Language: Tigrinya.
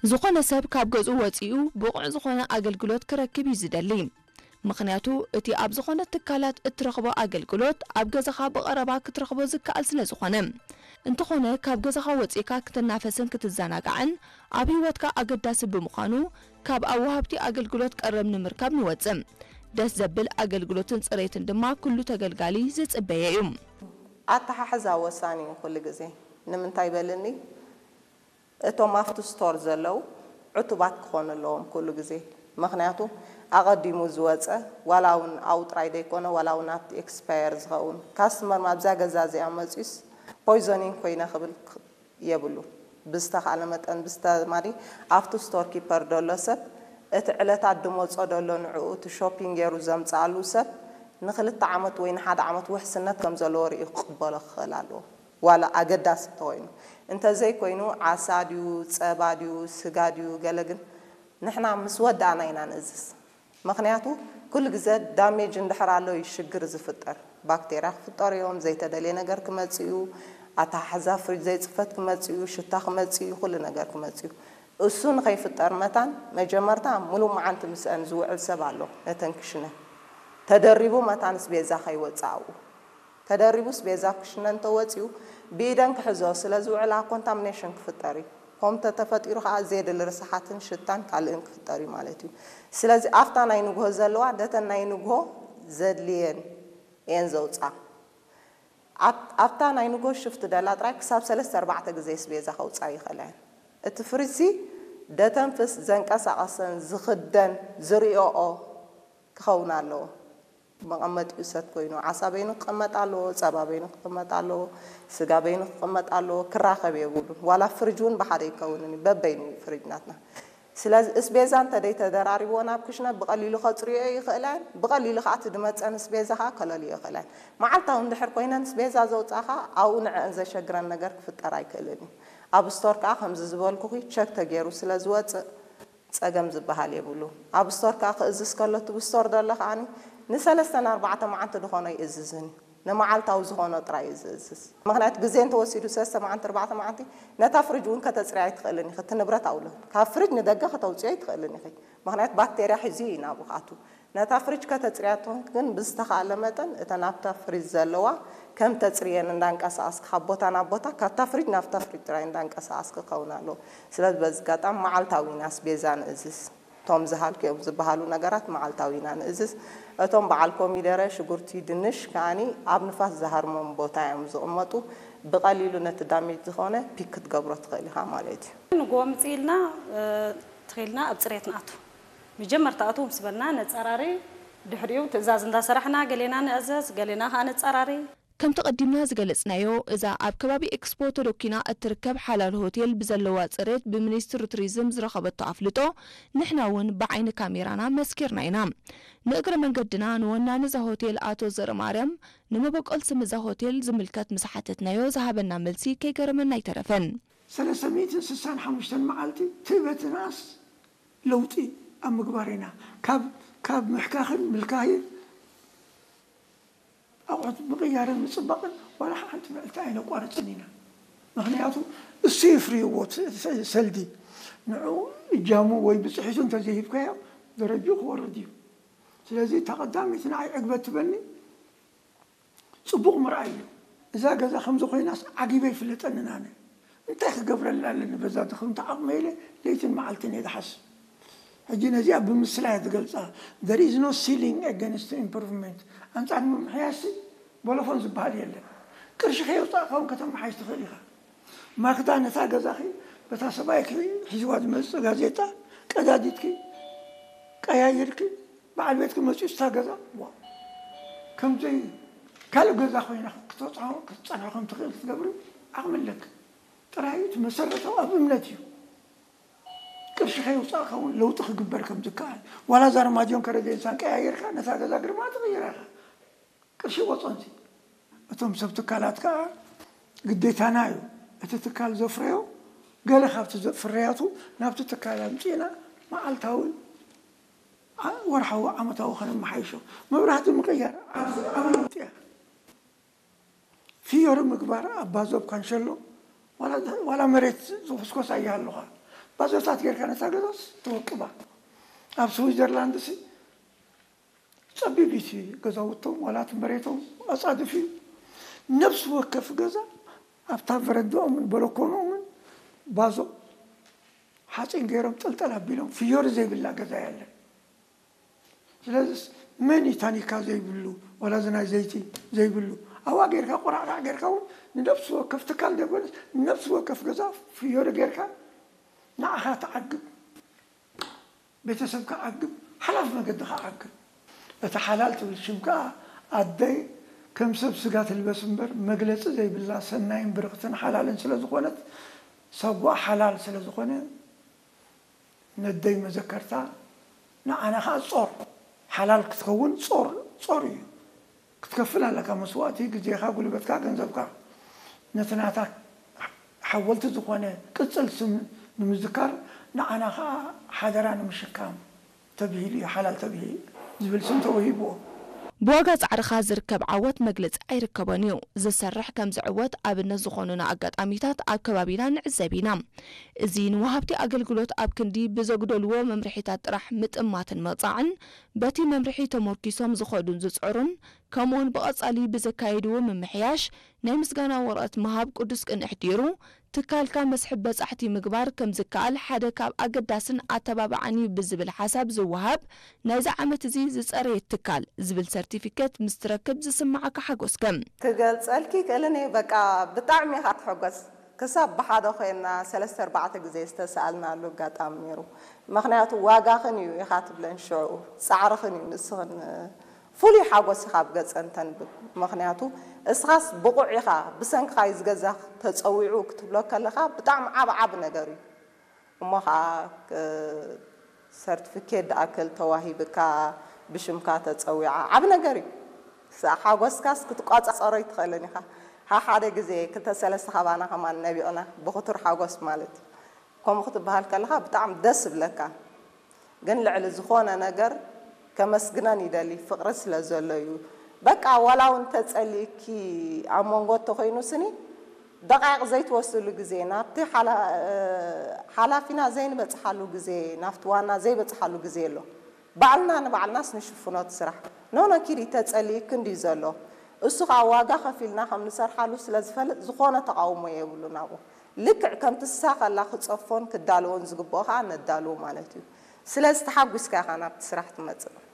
ዝኾነ ሰብ ካብ ገዝኡ ወጺኡ ብቑዕ ዝኾነ ኣገልግሎት ክረክብ እዩ ዝደሊ። ምኽንያቱ እቲ ኣብ ዝኾነ ትካላት እትረኽቦ ኣገልግሎት ኣብ ገዛኻ ብቐረባ ክትረኽቦ ዝከኣል ስለ ዝኾነ። እንተኾነ ካብ ገዛኻ ወጺእካ ክትናፈስን ክትዘናጋዕን ኣብ ህይወትካ ኣገዳሲ ብምዃኑ ካብ ኣብ ወሃብቲ ኣገልግሎት ቀረብ ንምርካብ ንወጽእ። ደስ ዘብል ኣገልግሎትን ጽሬትን ድማ ኩሉ ተገልጋሊ ዝጽበየ እዩ። ኣተሓሕዛ ወሳኒ እዩ ኩሉ ግዜ። ንምንታይ በልኒ? እቶም ኣብቲ ስቶር ዘለዉ ዕቱባት ክኾኑ ኣለዎም ኩሉ ግዜ። ምኽንያቱ ኣቐዲሙ ዝወፀ ዋላ እውን ኣብኡ ጥራይ ዘይኮነ ዋላ እውን ኣብቲ ኤክስፓየር ዝኸውን ካስተመር ኣብዛ ገዛ እዚኣ መፂኡስ ፖይዞኒን ኮይነ ክብል የብሉ። ብዝተኻለ መጠን ብዝተማሪ ኣብቲ ስቶር ኪፐር ደሎ ሰብ እቲ ዕለታት ድመፆ ደሎ ንዕኡ እቲ ሾፒንግ ገይሩ ዘምፅኣሉ ሰብ ንክልተ ዓመት ወይ ንሓደ ዓመት ውሕስነት ከም ዘለዎ ርእዩ ክቕበሎ ክኽእል ኣለዎ። ዋላ ኣገዳሲ እንተኮይኑ። እንተዘይኮይኑ ዓሳ ድዩ፣ ፀባ ድዩ፣ ስጋ ድዩ፣ ገለ ግን ንሕና ምስ ወዳእና ኢና ንእዝዝ። ምኽንያቱ ኩሉ ግዘ ዳሜጅ እንድሕር ኣሎ እዩ ሽግር ዝፍጠር። ባክቴርያ ክፍጠሩ እዮም፣ ዘይተደልየ ነገር ክመፅእ እዩ፣ ኣተሓሕዛ ፍሪጅ ዘይፅፈት ክመፅእ እዩ፣ ሽታ ክመፅእ እዩ፣ ኩሉ ነገር ክመፅእ እዩ። እሱ ንኸይፍጠር መታን መጀመርታ ሙሉእ መዓልቲ ምስአን ዝውዕል ሰብ ኣሎ ነተን ክሽነ ተደሪቡ መታን ኣስቤዛ ከይወፅእ ኣብኡ ተደሪቡ ኣስቤዛ ኣብ ክሽነ እንተወፂኡ ብኢደን ክሕዘኦ ስለዝውዕላ ኮንታሚኔሽን ክፍጠር እዩ። ከምኡ ተተፈጢሩ ከዓ ዘየድሊ ርስሓትን ሽታን ካልእን ክፍጠር እዩ ማለት እዩ። ስለዚ ኣብታ ናይ ንግሆ ዘለዋ ነተን ናይ ንግሆ ዘድልየን እየን ዘውፅኣ። ኣብታ ናይ ንግሆ ሽፍቲ ደላ ጥራይ ክሳብ ሰለስተ ኣርባዕተ ግዜ ኣስቤዛ ከውፅኣ ይኽእላ እየን። እቲ ፍሪጅሲ ደተንፍስ፣ ዘንቀሳቐሰን ዝኽደን ዝሪኦኦ ክኸውን ኣለዎ። መቐመጢኡ ሰት ኮይኑ ዓሳ በይኑ ክቕመጥ ኣለዎ፣ ፀባ በይኑ ክቕመጥ ኣለዎ፣ ስጋ በይኑ ክቕመጥ ኣለዎ። ክራኸብ የብሉን። ዋላ ፍሪጅ እውን ብሓደ ኣይከውንን እዩ፣ በበይኑ እዩ ፍሪጅ ናትና። ስለዚ ኣስቤዛ እንተደይ ተደራሪብዎ ናብ ክሽነ ብቐሊሉ ከፅርዮ ይኽእለን፣ ብቐሊሉ ከዓ እቲ ድመፀን ኣስቤዛ ከዓ ከለልዮ ይኽእለን። መዓልታዊ እንድሕር ኮይነን ኣስቤዛ ዘውፃኻ ኣብኡ ንዐን ዘሸግረን ነገር ክፍጠር ኣይክእልን እዩ። ኣብ ስቶር ከዓ ከምዚ ዝበልኩኺ ቸክ ተገይሩ ስለ ዝወፅእ ፀገም ዝበሃል የብሉ። ኣብ ስቶር ከዓ ክእዝዝ ከሎ እቲ ብስቶር ደሎ ከዓኒ ንሰለስተን ኣርባዕተ መዓልቲ ድኾኖ ይእዝዝን እዩ። ንመዓልታዊ ዝኾኖ ጥራይ እዩ ዝእዝዝ። ምኽንያቱ ግዜ እንተወሲዱ ሰለስተ መዓልቲ ኣርባዕተ መዓልቲ ነታ ፍሪጅ እውን ከተፅርያ ኣይትኽእልን ኢኺ። እቲ ንብረት ኣብኡ ኣሎ። ካብ ፍሪጅ ንደገ ከተውፅዮ ኣይትኽእልን ኢኺ። ምኽንያቱ ባክቴርያ ሒዙ እዩ ናብኡ ክኣቱ። ነታ ፍሪጅ ከተፅርያ ትኾን ግን ብዝተኻእለ መጠን እተን ኣብታ ፍሪጅ ዘለዋ ከም ተፅርየን እንዳንቀሳቐስኪ ካብ ቦታ ናብ ቦታ ካብታ ፍሪጅ ናብታ ፍሪጅ ጥራይ እንዳንቀሳቐስኪ ክኸውን ኣለዎ። ስለዚ በዚ ኣጋጣሚ መዓልታዊ ኢና ኣስቤዛ ንእዝዝ። እቶም ዝሃልክዮም ዝበሃሉ ነገራት መዓልታዊ ኢና ንእዝዝ። እቶም በዓል ኮሚደረ፣ ሽጉርቲ፣ ድንሽ ከኣኒ ኣብ ንፋስ ዝሃርሞም ቦታ እዮም ዝቕመጡ። ብቐሊሉ ነቲ ዳሜጅ ዝኾነ ፒክ ክትገብሮ ትኽእል ኢኻ ማለት እዩ። ንግሆ ምጽእ ኢልና ተኺልና ኣብ ጽሬት ንኣቱ። መጀመርታ ኣቱ ምስ በልና ነጻራሪ፣ ድሕሪኡ ትእዛዝ እንዳሰራሕና ገሌና ንእዘዝ፣ ገሌና ከኣ ነጻራሪ። ከምቲ ቀዲምና ዝገለጽናዮ፣ እዛ ኣብ ከባቢ ኤክስፖ ተደኲና እትርከብ ሓላል ሆቴል ብዘለዋ ጽሬት ብሚኒስትሪ ቱሪዝም ዝረኸበቶ ኣፍልጦ ንሕና እውን ብዓይኒ ካሜራና መስኪርና ኢና። ንእግረ መንገድና ንወናኒ እዛ ሆቴል ኣቶ ዘርኣማርያም ንመበቆል ስም እዛ ሆቴል ዝምልከት ምስ ሓተትናዮ ዝሃበና መልሲ ከይገረመና ኣይተረፈን። ሰለስተ ሚእትን ስሳን ሓሙሽተን መዓልቲ ትእበትናስ ለውጢ ኣብ ምግባር ኢና። ካብ ካብ ምሕካኽን ምልካይን ኣቑሑት ምቕያርን ምፅባቕን ዋላ ሓንቲ ምዕልቲ ኣይነቋርፅን ኢና። ምኽንያቱ እሱ የፍርይዎ ሰልዲ ንዑ እጃሙ ወይ ብፅሒቱ እንተዘይሂብካዮ ደረጅኡ ክወርድ እዩ። ስለዚ እታ ቀዳመይቲ ንዓይ ዕግበት ትበኒ ፅቡቕ ምርኣይ እዩ። እዛ ገዛ ከምዚ ኮይናስ ዓጊበ ይፍለጠንን ኣነ እንታይ ክገብረላ ኣለኒ በዛ ድኽምቲ ዓቕመ ኢለ ለይትን መዓልትን እየ ዝሓስብ። ሕጂ ነዚኣ ብምስላ እየ ዝገልፃ። There is no ceiling against improvement። ኣንፃር ምምሕያሽ ቦሎፎን ዝበሃል የለን። ቅርሺ ከየውፃእካ እውን ከተመሓይሽ ትኽእል ኢኻ። ማክዳ ነታ ገዛኺ በታ ሰብኣይኪ ሒዝዋ ዝመፅእ ጋዜጣ ቀዳዲድኪ ቀያይርኪ በዓል ቤትኪ መፂኡ ስታ ገዛ ዋ ከምዘይ ካልእ ገዛ ኮይና ክትፀንሖ ከም ትኽእል ክትገብሪ ዓቕሚ ኣለኪ። ጥራይ እቲ መሰረታዊ ኣብ እምነት እዩ። ቅርሺ ከየውፃእካ እውን ለውጢ ክግበር ከም ዝከኣል ዋላ እዛ ኣርማድዮን ከረዴንሳን ቀያይርካ ነታ ገዛ ግርማ ትቕይራ ኢኻ። ቅርሺ ወፀንሲ እቶም ሰብ ትካላት ከዓ ግዴታና እዩ። እቲ ትካል ዘፍረዮ ገለ ካብቲ ፍርያቱ ናብቲ ትካል ኣምፂእና መዓልታዊ ወርሓዊ ዓመታዊ ከነመሓይሾ። መብራህቲ ምቕያር ዓቢ ለውጢ እያ። ፊዮሪ ምግባር ኣብ ባዞብ ካንሸሎ ዋላ መሬት ዝኹስኮስ ኣይሃልኻ። ባዞታት ጌርካ ነታ ገዛስ ተወቅባ። ኣብ ስዊዘርላንድ ሲ ጸቢብ እቲ ገዛውቶም ዋላ እቲ መሬቶም ኣጻድፍ እዩ። ነፍሲ ወከፍ ገዛ ኣብታ በረንዳኦምን በለኮኖምን ባዞ ሓፂን ገይሮም ጥልጠል ኣቢሎም ፍዮሪ ዘይብላ ገዛ የለን። ስለዚስ መን እዩ ታኒካ ዘይብሉ ዋላ እዚ ናይ ዘይቲ ዘይብሉ ኣብኣ ጌርካ ቆራዕራዕ ጌርካ እውን ንነፍሲ ወከፍ ትካል ዘይኮነስ ንነፍሲ ወከፍ ገዛ ፍዮሪ ጌርካ ንዓኻ ትዓግብ። ቤተሰብካ ዓግብ፣ ሓላፍ መገድኻ ዓግብ። እቲ ሓላል ትብል ሽም ከኣ ኣደይ ከም ሰብ ስጋ ትልበስ እምበር መግለጺ ዘይብላ ሰናይን ብርኽትን ሓላልን ስለ ዝኾነት ሳጓ ሓላል ስለ ዝኾነ ነደይ መዘከርታ ንዓና ከኣ ጾር ሓላል ክትኸውን ጾር ጾር እዩ። ክትከፍል ኣለካ መስዋእቲ፣ ግዜኻ፣ ጉልበትካ፣ ገንዘብካ። ነቲ ናታ ሓወልቲ ዝኾነ ቅጽል ስም ንምዝካር ንዓና ከኣ ሓደራ ንምሽካም ተብሂሉ እዩ፣ ሓላል ተብሂ ዝብል ስም ተወሂብዎ። ብዋጋ ጻዕርኻ ዝርከብ ዓወት መግለጺ ኣይርከቦን እዩ። ዝሰርሕ ከም ዝዕወት ኣብነት ዝኾኑና ኣጋጣሚታት ኣብ ከባቢና ንዕዘብ ኢና። እዚ ንወሃብቲ ኣገልግሎት ኣብ ክንዲ ብዘጉደልዎ መምርሒታት ጥራሕ ምጥማትን ምቕጻዕን በቲ መምርሒ ተሞርኪሶም ዝኸዱን ዝጽዕሩን ከምኡውን ብቐጻሊ ብዘካየድዎ ምምሕያሽ ናይ ምስጋና ወረቐት ምሃብ ቅዱስ ቅንሕ ገይሩ ትካልካ መስሕብ በጻሕቲ ምግባር ከም ዝከኣል ሓደ ካብ ኣገዳስን ኣተባባዕን እዩ ብዝብል ሓሳብ ዝወሃብ ናይዚ ዓመት እዚ ዝጸረየት ትካል ዝብል ሰርቲፊኬት ምስ ትረክብ ዝስምዓካ ሓጎስ ከም ክገልጸልኪ ክእልን እየ። በቃ ብጣዕሚ ኢኻ ትሕጎስ። ክሳብ ብሓደ ኮይና ሰለስተ ኣርባዕተ ግዜ ዝተሰኣልናሉ ኣጋጣሚ ነይሩ። ምኽንያቱ ዋጋኽን እዩ ኢኻ ትብለን ሽዑ፣ ጻዕርኽን እዩ ንስኽን ፍሉይ ሓጎስ ኢኻ ኣብ ገጸን ተንብብ። ምኽንያቱ እስኻስ ብቑዕ ኢኻ፣ ብሰንክኻ እዩ ዝገዛ ተጸዊዑ ክትብሎ ከለኻ ብጣዕሚ ዓቢ ዓቢ ነገር እዩ። እሞ ኸዓ ሰርቲፊኬት ድኣክል ተዋሂብካ ብሽምካ ተጸዊዓ ዓቢ ነገር እዩ። ሓጎስካስ ክትቋጻጸሮ ኣይትኽእልን ኢኻ። ሓሓደ ግዜ ክልተ ሰለስተ ካባና ከማን ነቢዕና ብኽቱር ሓጎስ ማለት እዩ። ከምኡ ክትበሃል ከለኻ ብጣዕሚ ደስ ይብለካ። ግን ልዕሊ ዝኾነ ነገር ከመስግነን ይደሊ፣ ፍቕሪ ስለ ዘሎ እዩ። በቃ ዋላ እውን ተጸሊእኪ ኣብ መንጎ እንተኾይኑ ስኒ ደቓይቕ ዘይትወስድሉ ግዜ፣ ናብቲ ሓላፊና ዘይንበጽሓሉ ግዜ፣ ናብቲ ዋና ዘይበጽሓሉ ግዜ ኣሎ። ባዕልና ንባዕልናስ ንሽፍኖ እቲ ስራሕ። ኖኖ ኪዲ ተጸሊእኪ እንድዩ ዘሎ። እሱ ኸኣ ዋጋ ከፊልና ከም ንሰርሓሉ ስለ ዝፈልጥ ዝኾነ ተቓውሞ የብሉን ኣብኡ። ልክዕ ከምቲ ንሳ ከላ ክጸፎን ክዳለዎን ዝግብኦ ኸኣ ነዳልዎ ማለት እዩ። ስለዚ ተሓጒስካ ኢኻ ናብቲ ስራሕ ትመጽእ።